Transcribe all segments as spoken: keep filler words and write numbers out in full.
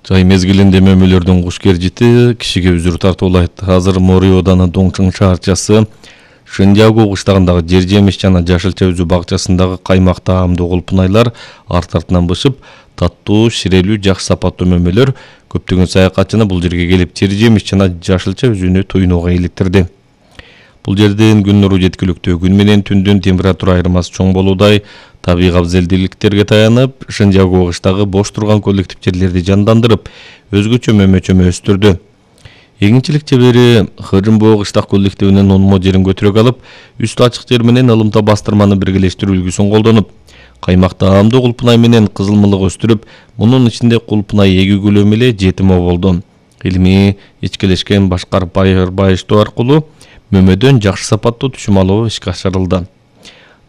Жай мезгилинде мөмөлөрдүн куш кержити кишиге үзүр тартуулайт. Азыр Мори ооданы Доңчуң шаарчасы Шындягу кыштагындагы жер жемиш жана жашылча үзүү бакчасындагы каймак таамдуу кулпунайлар арт артынан бышып, таттуу, ширелүү, жакшы сапаттуу мөмөлөр көптөгөн саякатчыны бул жерге келип жер жемиш жана жашылча үзүүнү туйнууга иликтирди. Бул жердин күн нуру жеткиликтүү, күн менен түндүн температура айырмасы чоң болуудай, табигый абзелдүүлүктөргө таянып, Шындягу кыштагы бош турган коллектив жерлерди жандандырып, өзгөчө мөмө-чөмө өстүрдү. Эгинчилик чебери Хыжымбоо кыштак коллективинин онмо жерин көтүрөк алып, үстү ачык жер менен ылымта бастырманы биргелештирүү үлгүсүн колдонуп, каймак таамдуу кулпунай менен кызылмылык өстүрүп, мунун ичинде кулпунай эгүү көлөмү эле жетимо болду. Илимий ичкелешкен башкар байыштоо аркылуу мөмөдөн жакшы сапаттуу түшүм алуу ишке ашырылды.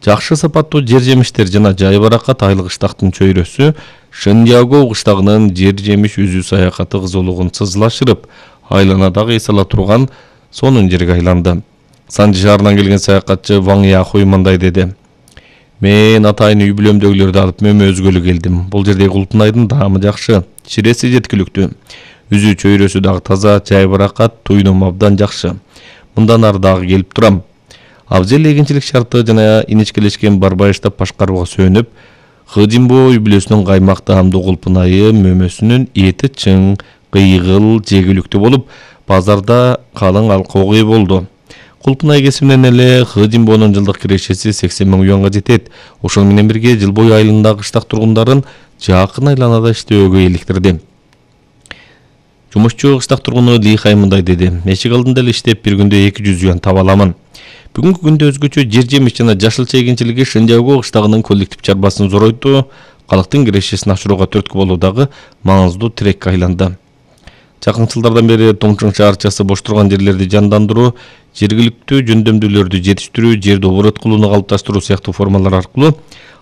Жакшы сапаттуу жер жемиштер жана жай баракат айлык кыштактын чөйрөсү Шындягу кыштагынын жер жемиш үзүү саякаты кызуулугун сызылашырып, айланадагы эс ала турган сонун жерге айланды. Санжы шаарынан келген саякатчы Ваң Яхуй мындай деди: "Мен атайын үй бүлөмдөгүлөрдү алып мөмө өзгөлү келдим. Бул жердеги кулпунайдын даамы жакшы, чиреси жеткиликтүү. Үзүү чөйрөсү дагы таза, жай баракат, туйнум абдан жакшы. Мындан ары дагы келип турам. Абзел эгинчилик шарты жана иничкелешкен барбайыштап башкарууга сөөнүп, Хыжымбоо үй бүлөсүнүн каймак таамдуу кулпунайы мөмөсүнүн эти чың, кыйгыл, жегиликтүү болуп, базарда калың алкоого ээ болду. Кулпунай кесиминен эле Хыжымбоонун жылдык кирешеси сексен миң юанга жетет. Ошол менен бирге жыл бою айылындагы кыштак тургундарын жакын айланада иштөөгө иликтирди." Жумушчу кыштак тургуну Ли Хай мындай деди: "Эшик алдында эле иштеп, бир күндө эки жүз юан таба аламын. Бүгүнкү күндө өзгөчө жер жемиш жана жашылча эгинчилиги Шындягу кыштагынын коллектив чарбасын зоройтуу, калктын кирешесин ашырууга түрткү болуудагы маңыздуу тирекке айланды." Жакын жылдардан бери Доңчуң шаарчасы бош турган жерлерди жандандыруу, жергиликтүү жөндөмдүүлөрдү жетиштирүү, жерди оборот кылууну калыпташтыруу сыяктуу формалар аркылуу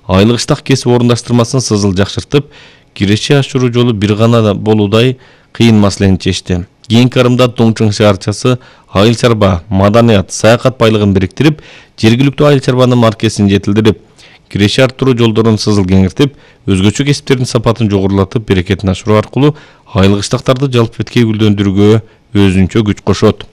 айыл кыштак кесип орундаштырмасын сызыл жакшыртып, киреше ашыруу жолу бир гана болуудай кыйын маселени чечти. Кийинки арымда Доңчуң шаарчасы айыл чарба, маданият, саякат байлыгын бириктирип, жергиликтүү айыл чарбанын маркесин жетилдирип, киреше арттыруу жолдорун сызыл кеңиртип, өзгөчө кесиптердин сапатын жогорулатып, берекетин ашыруу аркылуу айыл кыштактарды жалпы беткей гүлдөндүрүүгө өзүнчө күч кошот.